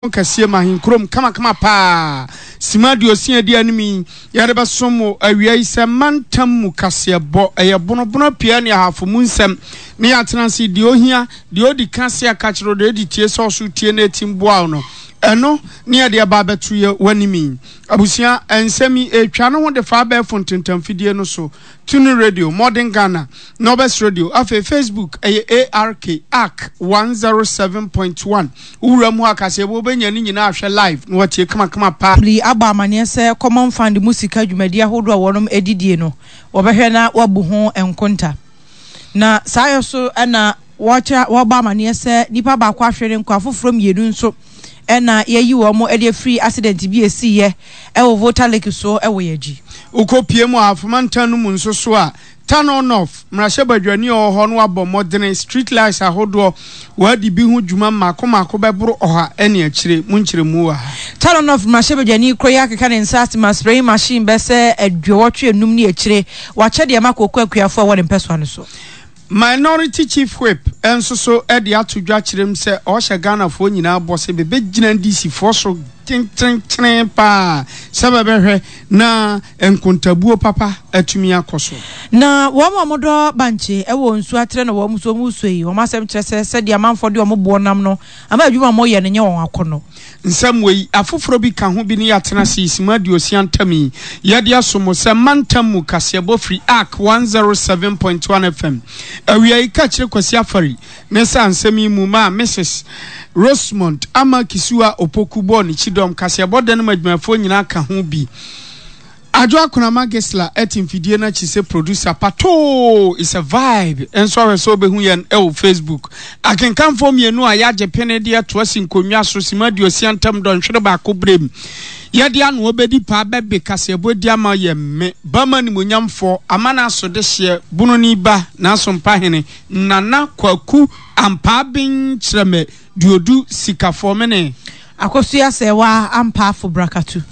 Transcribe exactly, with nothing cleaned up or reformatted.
Kɛseɛ ma ahenkurom kamakama paa. Sima aduosia adi anim yi, yɛde bɛsom mo awia yi sɛ mantam mu kaseɛbɔ. Ɛyɛ bonobono pia ne ahafo mu nsɛm ne yɛatena ase deɛ ohia, deɛ odi ka se aka kyerɛ, deɛ odi tie sɛ ɔso tie na etim boa wo no. Ɛno ne yɛde ɛba abɛto yɛ w'anim yi. Abusua, nsɛm yi etwa ne ho de fa abɛɛfo ntentamfidie no so. Tunu Radio, Modern Ghana, Nobes Radio, afei Facebook ɛyɛ A R K A R K one zero seven point one. Wowura mu hɔ akaseɛ wobɛnya ne nyinaa ahwɛ live na watie kamakama paa. Pili abɔ amanneɛ sɛ Common Fund mu sika dwumadi ahodoɔ a wɔnom adidie no, wɔbɛhwɛ na wabu ho nkonta. Na saa yɛ so ɛna wɔkyerɛ wɔbɔ amanneɛ sɛ nipa baako ahwere ne nkwa, afoforɔ mmienu nso ɛna yɛyi wɔn de afiri accident bi esiiɛ ɛwɔ Volta Lake so ɛwɔ yɛn akyi. Wokɔpie mu a afomantan no mu nso so a, Tano North mmarahyɛbadwani a ɔwɔ hɔ no abɔ mmɔdene street lights ahodoɔ wɔadi bi ho dwuma mmaako mmaako bɛboro ɔha ne akyire mu nkyerɛmu wɔ ha. Tano North mmarahyɛbadwani koro yi akeka ne nsa ase ma spraying machine bɛsɛ aduɔwɔtwe enum ne akyire wakyɛ deɛ ma kooko akuafoɔ a wɔde mpɛsoa no so. Minority Chief Whip nso so de ato dwa kyerɛ mu sɛ ɔhyɛ Ghanafoɔ nyinaa bɔ sɛ bɛbɛgyina N D C foɔ so kyenkyerenkyeren paa sɛ bɛbɛhwɛ na nkontabuo papa atumi akɔ so. Na wɔn a wɔdɔ bankye wɔ nsuo atrɛ na wɔn nso wɔn suo yi, wɔn asɛm kyerɛ sɛ sɛdeɛ amanfoɔ de wɔn boɔ nam no ama adwuma a wɔyɛ no nyɛ wɔn akɔnɔ. Nsɛm wei afoforɔ bi ka ho bi ne yɛatena se sima aduosia ntam yi yɛde aso mo sɛ mantam mu kaseɛbɔ firi A R K one zero seven point one F M. Awia yi ka kyerɛ Kwasi Afari ne sa nsɛm yi mu ma Missus Rosemond Ama Kisiwa Opoku bɔɔ ne kyidɔm kaseɛbɔ da no mu adwumayɛfoɔ nyinaa ka ho bi. Adwo Akonama Gisla ɛte mfidie no akyi sɛ producer. Patoo is a vibe nso ahwɛ sɛ wobɛhu yɛn ɛwɔ Facebook. Akenkanfoɔ mmienu a yɛagye pene de ato asi nkonnwa so sima aduosia ntam dɔnhwere baako berɛm yɛde ano bɛdi paa bɛbe kaseɛbɔ di ama yɛ me bama nimonyamfoɔ ama no aso de hyeɛ bononi ba nanso mpahene Nana Kwaku Ampaaben kyerɛ me duodu sikafoɔ mene. Akosua Sɛwa Ampaafo Brakatu.